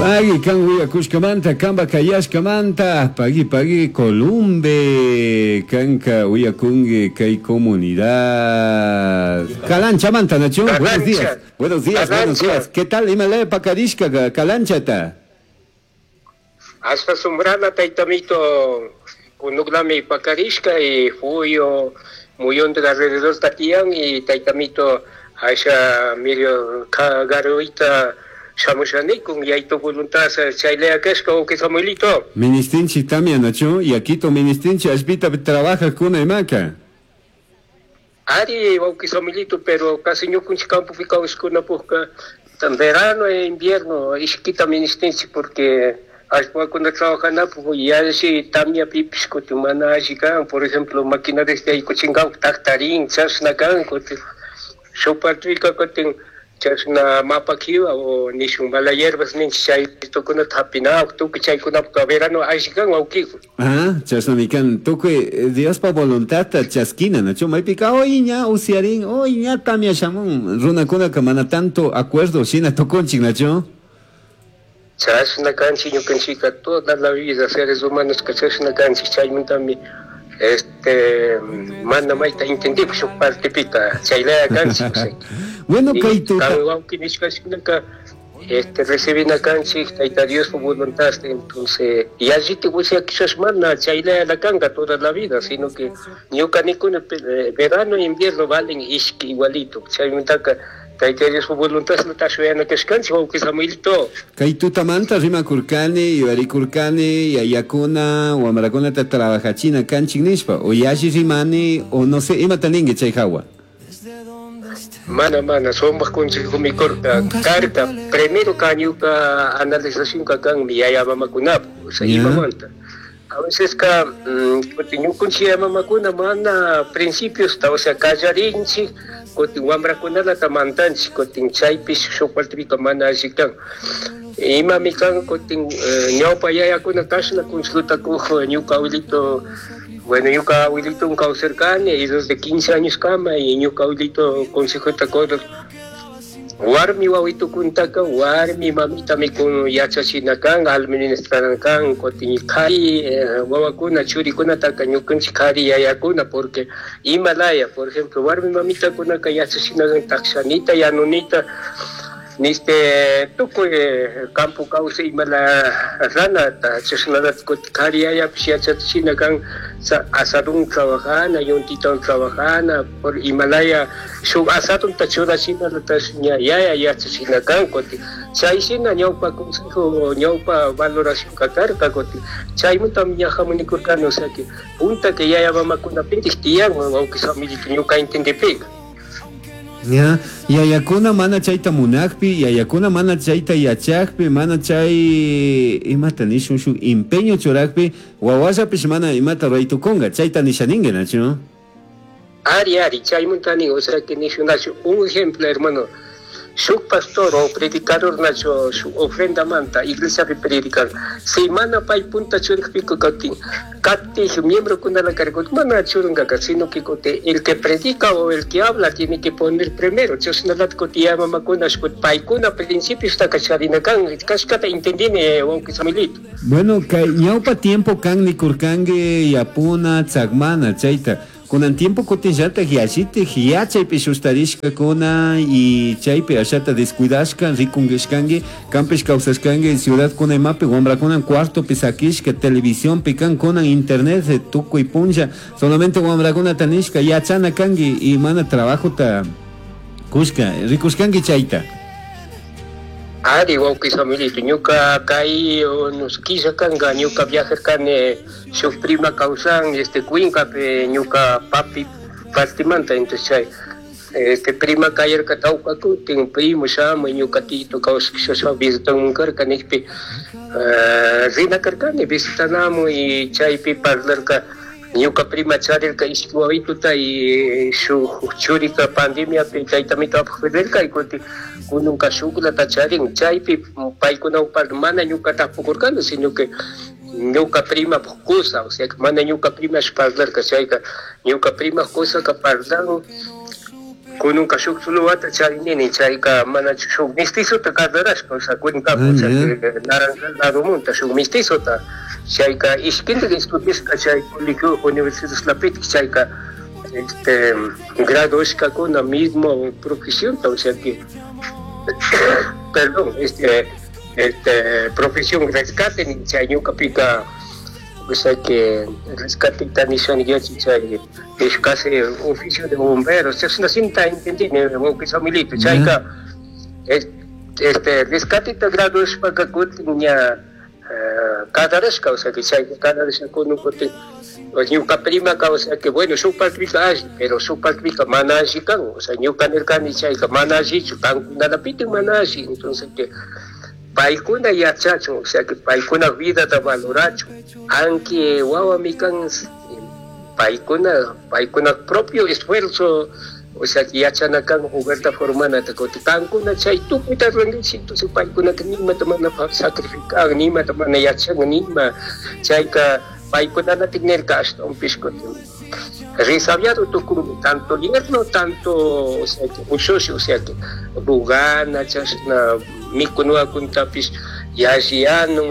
Pagui kan uyakushkamanta, kanpa kayashkamanta, pagui pagui Columbe, kanka uyakungi kay comunidad. Calanchamanta, Nacho, buenos días. Buenos días, buenos días. ¿Qué tal? Imalaya pakarishka Calanchata. Hasta sumbrana taytamito kunuklami pakarishka y fuyo muyonte alrededor tatiyan y taytamito asha medio garuita shamushanikun yaytu voluntad chaylaya kashka uki Samuelito. Ministinchi tamia Nacho, y aquito ministinchi ashpita trabaja kuna imaka. Ari wauki Samuelito, pero casi ñukunchik campopi kawsakuna pukka verano e invierno ishkita ministinchik porque allpakuna trabajanapuk yalli tamyapipish kutin mana alli kan, por ejemplo maquinaria yaykuchinkapak taktarin chashna kan kutin shuk partipika kutin chashna mapa kiwa o nishun mala hierbas ninchik chaytukunata hapinapak tukuy chaykunapuk verano alli kan wawkiku. Ah, chashnami kan tukuy Diospa voluntadta chaskina, nachu maypika hoy ña usiarin, hoy ña tamia shamun, runakunaka mana tanto acuerdo shina tukunchik, nachu. Chashna kanchik ñukanchikka toda la vida seres humanos ka chashna kanchik chaymantami este mana mayta entendipuk shuk partepika chaylaya kanchik. Bueno, kay tuta Kan wawki nishkashinaka este recibina kanchik Tayta Diospa voluntad, entonces yallitik usyakishash mana chaylayala kanka toda la vida, sino que ñuka nikuni verano e invierno valen ishki igualito, chaymantaka Tayta Diospa voluntad shuyana kashkanchik wawki Samuelito. Kay tutamanta rimakurkani, yuyarikurkani, yayakuna, wamrakunata trabajachina kanchik nishpa, o yalli rimani, o no sé, imata ninki chay hawa. Mana, mana, sumak consejo mikurka, karka, primero ka ñuka analización ka kan mi yaya mamakunapa, o sea, imamanta. A veces ka, kutin ñukunchik yaya mamakuna mana principios ta, o sea, kallarinchik, kutin wamrakunalata mantanchik, kutin chaypish shuk partipika mana alli kan. Imami kan kutin ñawpa yayakuna kashna consejota kuj ñuka abuelito. Bueno, ñuka abuelito kawsarkani y desde 15 años kama y ñuka abuelito consejota kuj warmi wawitukuntaka warmi mamitami kun yachachina kan, administrana kan, kutin kari wawakuna churikunataka ñukanchik kari yayakuna, porque imalaya, por ejemplo, warmi mamitakunaka yachachina kan takshanita, yanunita, niste tukuy campo kawsay imala ranata chashnalata kutin kari yayapish yachachina kan asadun trabajana, yuntitawan trabajana, por imalaya shuk asadunta churachinalatash ña yaya yachachina kan kutin chayshina ñawpa consejo, ñawpa valoración karka kutin chaymantami ña hamunikurkani, o sea que punta que yaya mamakunapintik tiyan wawqi Samuelito ñuka entendipika. Ya, yayakuna mana chayta munakpi, yayakuna mana chayta yachakpi, mana chay imata nishun shuk empeño churakpi, wawallapish mana imata ruraytukunga, chayta nishaninki, nachu? Ari, ari, chaymanta nin, o sea que nishun nachu, un ejemplo, hermano, shuk pastor o predicador nachu, shuk ofrenda manta, iglesiapi predican, si mana pay punta churikpika katin, katij miembro kunala karkut, mana churungaka, sino que kote, el que predica o el que habla tiene que poner primero, chashnalata kote ya mamakuna shkut, paykuna principio está kacharina kan, kashkata entendine, wawqi Samuelito. Bueno, kay ñawpa tiempo kan nikurkanki yapuna, tzakmana, chayta. Kunan tiempo kutinllatak yallitik yachaypi shustarishkakuna y chaypi ashata descuidashka, rikunkishkanki, kanpish kawsashkanki ciudad kuna imapi, wamrakunan cuartopi sakishka, televisionpi kan, kunan internet tukuy punlla, solamente wamrakunata nishka yachana kanki y mana trabajota kushka, rikushkanki chayta. Ari, wawqi Samuelito, ñuka kay unos killa kanka, ñuka viajarkani shuk prima kawsan, este Cuencapi, ñuka papi partimanta, entonces chay, este prima kayarka tawka kutin, primo shamuy, ñuka tito kawsakshasha visitanmun karka, nijpi, rina karkani visitanamu y chaypi parlarka, ñuka prima charirka ishki wawituta y shuk churika pandemiapi chaytamito apaj rirka y kutin kununka shuklata charin, chaypi paykunawan mana ñuka tapukurkani, sino que ñuka prima kusa, o sea que mana ñuka prima parlarka, chayka ñuka prima kusaka parlan. Kununka shuk tuluwata charinini, chayka mana shuk mestizota casarashka, o sea, cuencapi, o sea, Naranjal ladomanta shuk mestizota, chayka ishkindik estudiashka chay colegio universidadlapitik, chayka este graduashkakuna mismo profesionta, o sea que, perdón, este profesión rescate, chay ñukapika, o sea que rescate nishani chay es casi oficio de bomberos, chashna sinta entendini wawqi Samuelito, chayka este rescateta graduashpaka kutin ña casarashka, o sea que chayka casarashka kunun kutin ñuka primaka, o sea que bueno, shuk partipika alli, pero shuk partipika mana alli kan, o sea ñuka nirkani chayka mana allichu, kankunalapitik mana alli, entonces que paykuna yachachun, o sea que paykuna vidata valorachun, aunque wawami kan paykuna propio esfuerzo, o sea que yachana kan hogarta formanata, kutin kankuna chay tukuyta rurankichik, entonces paykunaka nimata mana sacrifican, nimata mana yachan, nima chayka paykunalatik nirka ashtawanpish kutin resabiado tukunmi, tanto yerno, tanto, o sea que ushushi, o sea que rugana, chashna mikunakuntapish yalli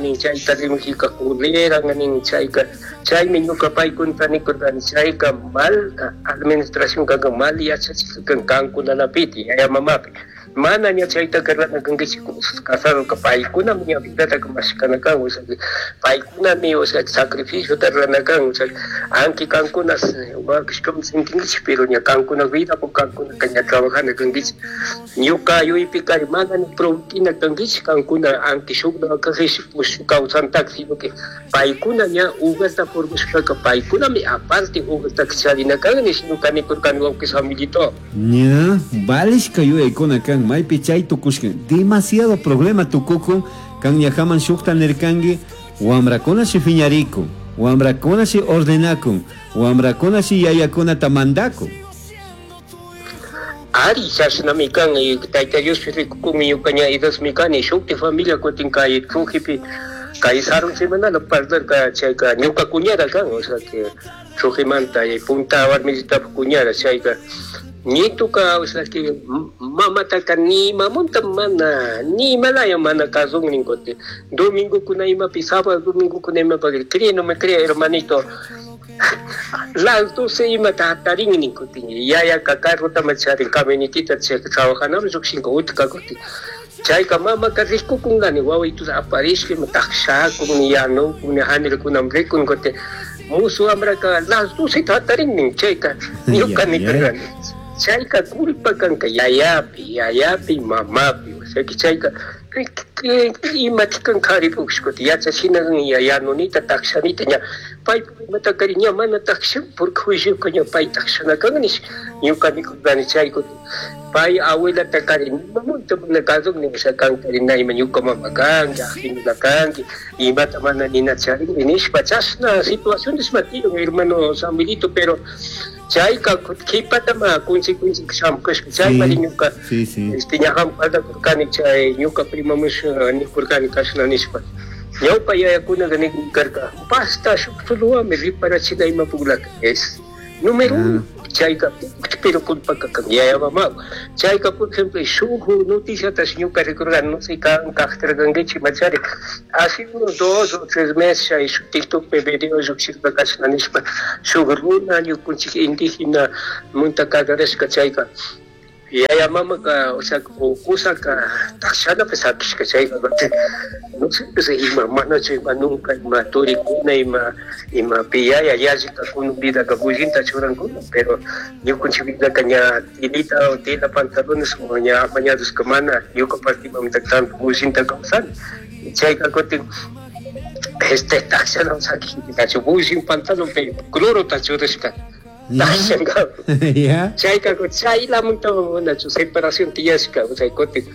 nin chayta rimajika culera nin chayka, chaymi ñuka paykunata nikurkani chayka mal administración kanka, mal yachachik kan kankunalapiti yaya mamapi, mana ña chaytaka rurana kankichik, casadoka paykunami ña vidataka mashkana kan, o sea que paykunami, o sea, sacrificiota rurana kan, o sea, aunque kankuna wakishkaman sintinkichik, pero ña kankuna vida po kankunaka ña trabajana kankichik, ñuka yuypikari mana ni prometina kankichik kankuna, aunque shuk kajish kawsantaka, sino que paykuna ña hogarta formashpaka paykunami aparte hogartaka charina kan nish ñuka nikurkani wawqi Samuelito. Ña, valishka yuyaykuna kan, maypi chay tukushka, demasiado problema tukukun, kan ñajaman shukta nirkanki, wamrakuna shi phiñarikun, wamrakuna shi ordenakun, wamrakuna shi yayakunata mandakun. Ari, chashnami kan, Tayta Diospi rikukunmi ñuka ña edadmi kani, shukti familia kutin kay Trujipi, kay sarun semanala parlarka chayka ñuka cuñada kan, o sea que Trujimanta punta warmisitapaj cuñada chayka ñituka, o sea que mamataka ni mamunta mana, ni imalaya mana kasun nin kutin, domingokuna imapi, sábado domingokuna imapi, cree no me cree hermanito, las 12 imata hatarin nin kutin, yayaka carrota charin camionetita chayka trabajanami llukshinka utka kutin, chayka mamaka rikukunkani wawituta aparishka ima takshakun yanukun hanirkunami rikun kutin, musu wambraka las 12 hatarin nin chayka ñuka nikurkani, chayka culpa kanka yayapi, yayapi mamapi, o sea que chayka imata kan karipush kutin yachachina yanunita takshanita ña paypuk imatakari ña mana takshan porque juicioka ña pay takshana kan nish ñuka nikurkani chay kutin pay abuelata kari nimamunta mana kasuk nin, o sea kankari na ima ñuka mama kanki, ajinula kanki, imata mana nina charinki nishpa chashna situaciones ma tiyan hermano Samuelito, pero chayka kipatama consecuencia shamushka chaymari ñuka este ñajan parlakurkani chay ñuka primamush nikurkani kashna nishpa ñawpa yayakunaka nikurkarka basta shuk suluwami riparachina imapuklaka es número uno chayka pero culpaka kan yaya mama chayka por ejemplo shuk noticiatash ñuka rikurkani no sé kan kajtarkankichik machari hace unos 2 o 3 meses chay shuk TikTokpi video llukshishpa kashna nishpa shuk runa ñukunchik indígena munta kasarashka chayka yaya mamaka, o sea, kusaka takshanapi sakishka chayka no sé pues ima manachu ima nunca ima turikuna ima ima piyaya yallika kunun vidaka bullinta churankuna pero ñukanchik vidaka ña tilita o tela pantalones o ña amañadushka mana ñuka partimanta tanto bullinta kawsani chayka kutin este takshana sakishka bullin pantalon pe clorota churashka Chayka chaylamunta manachu separación tiyashka, o sea kutin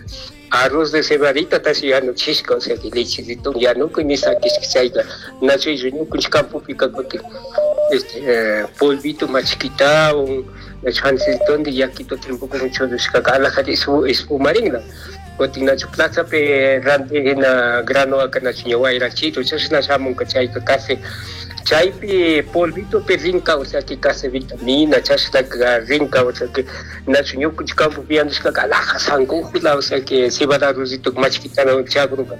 arroz de cebadita tashi yanuchishka, o sea que lechecito yanukuy nisakishka chayka nachu ñukanchik campopika kutin este polvito machkitawan chancitondi yakito tiempokuman churashkaka alajata espumarinla kutin nachu plazapi rantijina granoaka nachu ña wayrachito chashna shamunka chayka casi Chaypi polvitopi rinka, o sea que casi vitamina, chashnaka rinka, o sea que nachu ñukanchik campopi yandushkaka alhaja sankujula, o sea que cebada arrocito machkitana chagruka.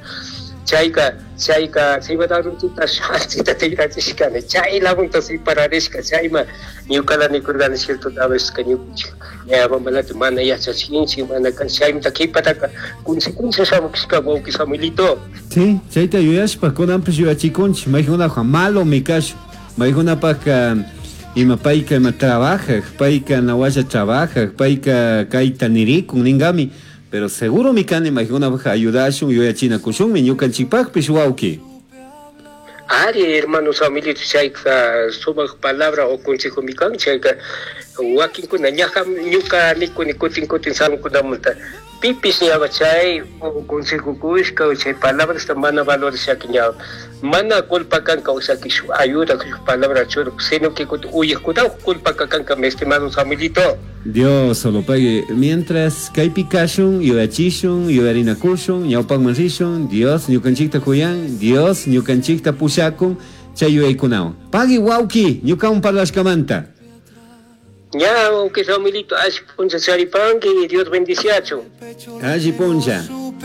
Chayka, chayka cebada arrocita shanchita tigrachishkani, chay lagunta separarishka, chayma ñukala nikurkani cierto a veces ka ñukanchik yaya mamalata mana yachachinchik, mana kan chaymanta qhipataka consecuencia shamushka wawqi Samuelito. Sí, chayta yuyashpa kunanpish yuyachikunchik, maykunapaj malomi kashun, maykunapajka ima payka ima trabajaj, payka nawalla trabajaj, payka kayta nirikun ninkami, pero seguromi kani maykunapaj ayudashun, yuyachinakushunmi ñukanchikpajpish wawki. Ari, hermano Samuelito, chayka sumaq palabra o consejomi kan, chayka wakinkuna ñaja ñuka nikuni kutin kutin samukunamanta pipis ñawa chay consejo kushka chay palabrasta mana valorashaka ña mana culpa kanka, o sea que shuk ayuda shuk palabra churuk, sino que kutin uyajkuna culpa kanka, mi estimado Samuelito. Dios solo pague. Mientras kaypi kashun, yuyachishun, yuyarinakushun, ñawpakman rishun, Dios ñukanchikta kuyan, Dios ñukanchikta pushakun, chay yuyaykunawan. Pagui wawki, ñukawan parlashkamanta. Ña, wawki Samuelito, alli puncha charipanki, Dios bendiciachu. Alli puncha.